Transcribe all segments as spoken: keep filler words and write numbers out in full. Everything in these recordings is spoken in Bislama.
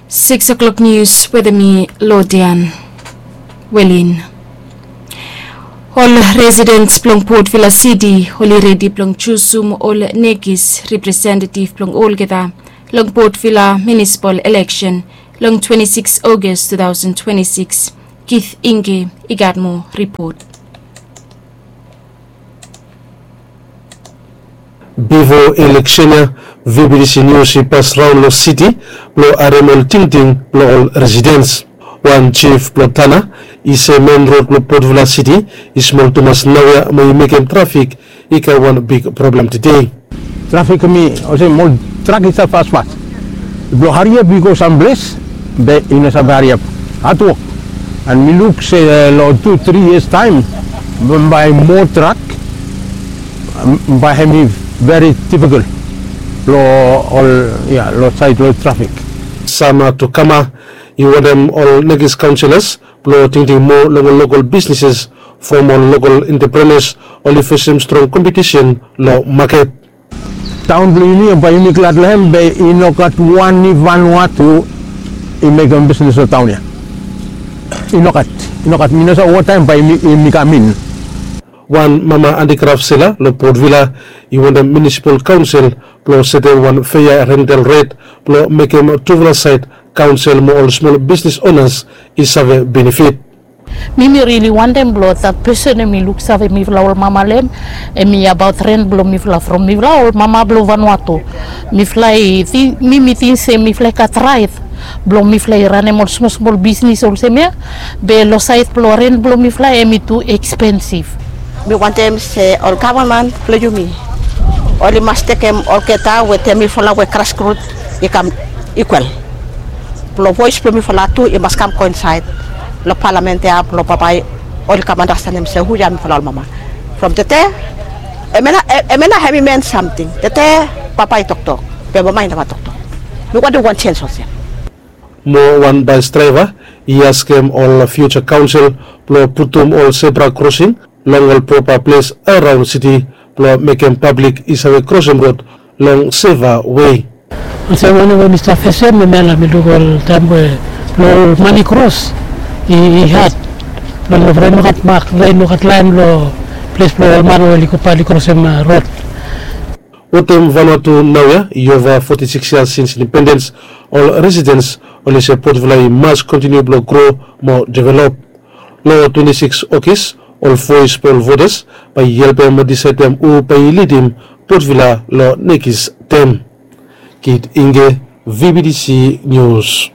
Six o'clock news wetem mi, Lodian Welin. Ol residents blong Port Vila City oli redi blong jusum ol nekis representative blong olgeta long Port Vila municipal election long twenty-six August two thousand twenty-six. Keith Inge i gat moa ripot. Bifo eleksen ya, V B T C News i pas raon long siti blong harem ol tingting blong ol residents. Wan jif blong Tana i se men rod blong Port Vila City i smol tumas naoia mo i mekem trafik i kam wan big problem tede. Trafik mi olsem ol trak i stap fasfas. Blong hariap i go samples be i no save hariap. Hatwok. An mi luk se long tu tri yias taem bae moa trak bae hemi veri difikol long ol ya long saed long trafik. Sama tu kama i wantem ol nekis kaonselas blong tingting moa long ol lokol bisneses from ol lokol entreprenas oli fesem strong kompetisen long maket. Taon blong yumi bae yumi glad long hem be i no gat wan i Vanuatu i mekem bisnes long taon ya. I no gat, i no gat, mi no save wotaem bae yumi kam in. Wan mama antikraf sela long Port Vila i wantem munisipal kaonsel blong setem wan fea rental ret blong mekem tufala saed kaonsel mo ol smol bisnes onas i save benefit. Mi mi rili wantem blong dat pesen hemi luksave mifala ol mama long hem. Hemi abaot ren blong mifala from mifala ol mama blong Vanuatu. Mifala i ting, mi mi ting se mifala i gat raet blong mifala i ranem ol smol smol bisnis olsem ya. Be long saed blong ren blong mifala hemi tu ekspensif. Mi wantem se ol gavman blong yumi oli mas tekem olgeta wetem mifala we grasrut i kam ikwal. Blong voes blong mifala tu i mas kam go insaed long palamen ya blong bambae oli kam andastanem se hu ya mifala ol mama. From tete hemia nao hemi min samting. Tete bambae i toktok be mama i neva toktok. Mi wantem wan jens olsem. Moa wan bas draeva i askem ol fiuja kaonsel blong putum ol sebra krosing long ol propa ples araon siti blong mekem pablik i save krosem rod long seva wei. Olsem wanem we mi stap fesem hemia nao mi luk ol taem we blong ol man i kros i had blong ol ren i no gat mak, ren i no gat laen long ples blong ol man we oli go bae oli krosem rod. Wetem Vanuatu naoia i ova foti sikis yias sins indipendens, ol residens oli se Port Vila i mas kontiniu blong gro mo develop. Long twenti sikis Ogis ol voes blong ol votas bae i helpem disaedem hu bae i lidim Port Vila long nekis tem. Keith Inge, V B T C News.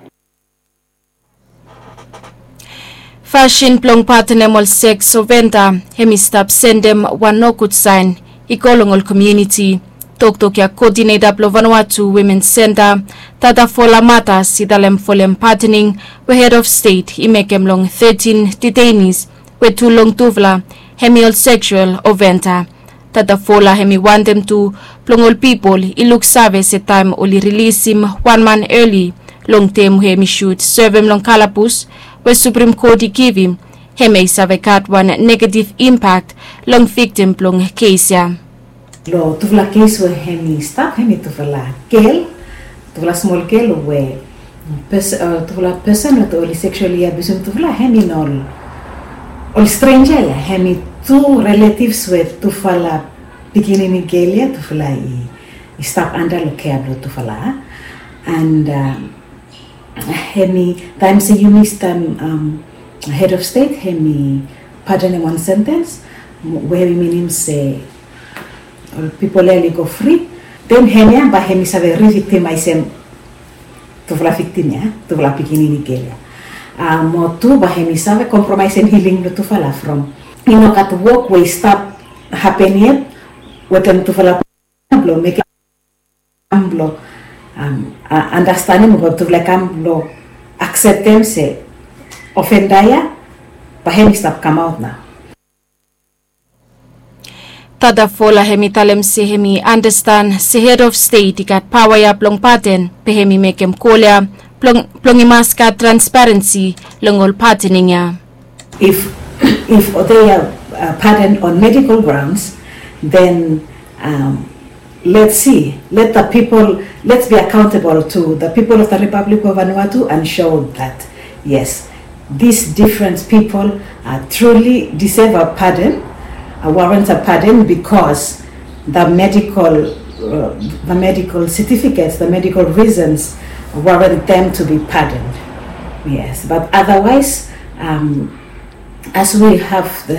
Fasin blong patenem ol seks oventa hemi stap sendem wan nogud saen i go long ol komuniti. Toktok ya koodineta blong Vanuatu Wimen Senta, Tadafola Matas, i talem folem patening we hed of stet i mekem long tetin detainis we tu long tufala hemi ol seksual oventa. Tadafola hemi wantem tu blong ol pipol i luksave se taem oli rilisim wan man eli long tem we hemi sud sevem long kalabus we Suprem Kot i givim, hemia i save gat wan negativ impak long viktim blong kes ya. Long tufala kes we hemi stap hemi tufala gel, tufala smol gel we tufala pesen we oli seksuali abiusim tufala hemi no ol strenja ya, hemi tu riletivs we tufala pikinini gel ya tufala i stap anda long kea blong tufala. And hemi taem se yumi stap hed of stet hemi patenem wan sentens we hemi minim se ol pipol ya oli go fri. Den hemia bae hemi save riviktimaesem tufala viktim ya, tufala pikinini gel ya. Mo tu bae hemi save kompromaesem hiling blong tufala from i no gat wok we i stap hapen yet wetem tufala blong mekem kam blong andastanem o tufala i kam blong akseptem se ofenda ya bae hemi stap kamaot nao. Tadafola hemi talem se hemi andastan se hed of stet i gat paoa ya blong paten, be hemi mekem kol ya blong i mas gat transparensi long ol patening ya. If if they are pardoned on medical grounds, then Let's see, let the people, let's be accountable to the people of the Republic of Vanuatu and show that, yes, these different people uh, truly deserve a pardon, uh, warrant a pardon because the medical, uh, the medical certificates, the medical reasons warrant them to be pardoned. Yes, but otherwise, um, as we have the